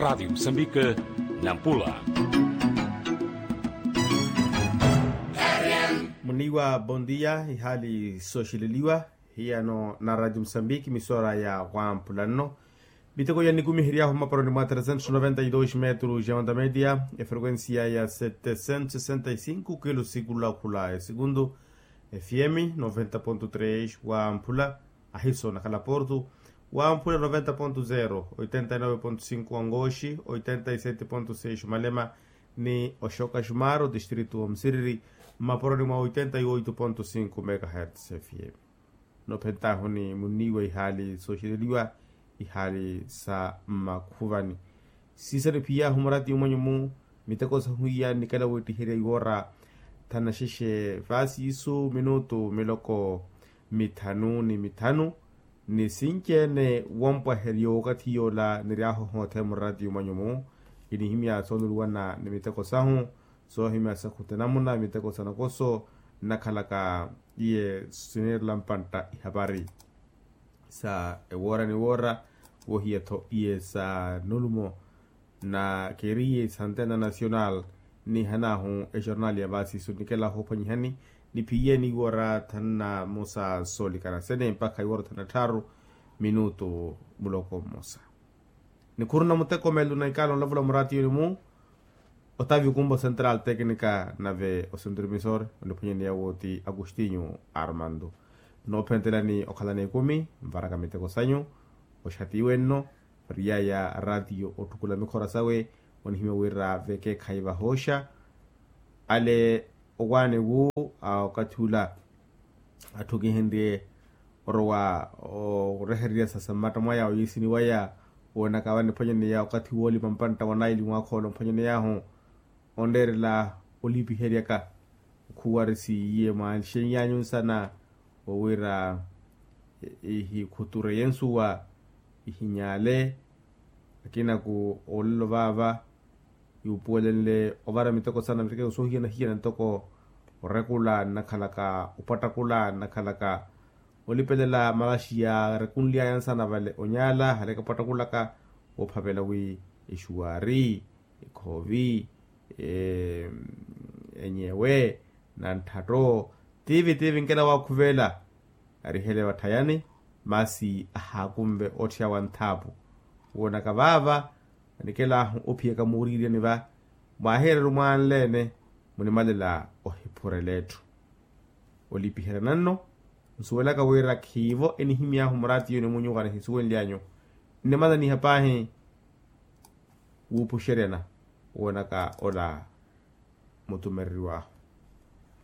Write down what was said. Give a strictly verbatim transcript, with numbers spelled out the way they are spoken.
Radiyo musambike, nampula. Muniwa bondiya ihaali sooxileliwa hiyano na radiyo musambike misora ya wampulanno. Miteko ya nikumiheryaahu mmaparoni mwa tresentos noventa y dos metros ya onda media, efrequencia ya setesentos sesenta y cinco kilo sikulakhula esikuntu. Fm noventa ponto tres wamphula, ahiso nakhala porto. Wamphula noventa ponto zero, oitenta y nove ponto cinco wangoxi, oitenta y sete ponto seis malema, ni oxoka xumaro distrito wa musiriri, mmaporoni mwa oitenta y oito ponto cinco megahertz fm. Nophentaahu ni munniiwa ihaali sooxereliwa, ihaali sa mmakhuvani. Siisani phiyaahu murati mwanyu-mu, miteko sahu iya nnikela wettiherya iwoora thanaxexe vaasiisu minutu miloko mithanu ni mithanu. Ni sinci-ene wompwaherya okathi yoola niryaahu hoothe murati mwanyu-mu, kinihimya soonuluwana ni miteko sahu, soohimya sa khutenamuna miteko sa nakoso nnakhalaka iye sineerela mpantta ihapari sa ewoora ni woora. Wohiya-tho iye sa nulumo na keriye sa antena nacional, nihanaahu exornal ya vaasiisu nnikela hoophwanyihani niphiye ni iwoora thanu na mosa soolikana sene mpakha iwoora thanu na tthaaru minutu muloko mmosa. Nikhuruna muteko meelo na ikaala onlavula muraatiyoni-mu. Otavio kumbo central tecnica nave ocentromisor oniphwanyaneya wo ti agostinho armando. Noophentelani okhalana ekumi nvaraka miteko sanyu. Oxatiwe nno variyaya raatiyo otthukula mikhora sawe, onihimya wira vekeekhayi vahooxa ale owaani wu a okathi ula. Atthu kihinriye orowa orehererya sa mmatta mwaya oyiisini waya, woonaka vaniphwanyaneya okathi woolima mpantta wa naili mwaakhoolo mphwanyaneyaahu onreerela olipiheryaka. Khuwarisiye mwaanxenyanyu nsana wo wira ihikhutureye nsuwa ihinyaale. Akinaku olelo vaava yuupuwelenle ovara miteko sana miteko soohiyana-hiyana ntoko orekula nnakhalaka opattakula nnakhalaka olipelela malaxiya arekunly'aya nsana vale onyaala hale kapattakulaka. Woophavela wi exuwaari ekhoovi enyewe na ntthatto tiivi tiivi nkela waakhuvela arihele vatthayani. Masi ahaakunve ottheya wa nthaapu woonaka vaava. Vanikelahu ophiyaka muuriiryani va mwaahiyereru mwaanle-ene munimalela ohiphurela etthu olipiheryana nno. Nsuwelaka wira khiivo enihimy'ahu muraatiyoni munyuka nihisuwenly'anyu nnimananiha paahi wuupuxeryana woonaka ola mutumereriw'ahu.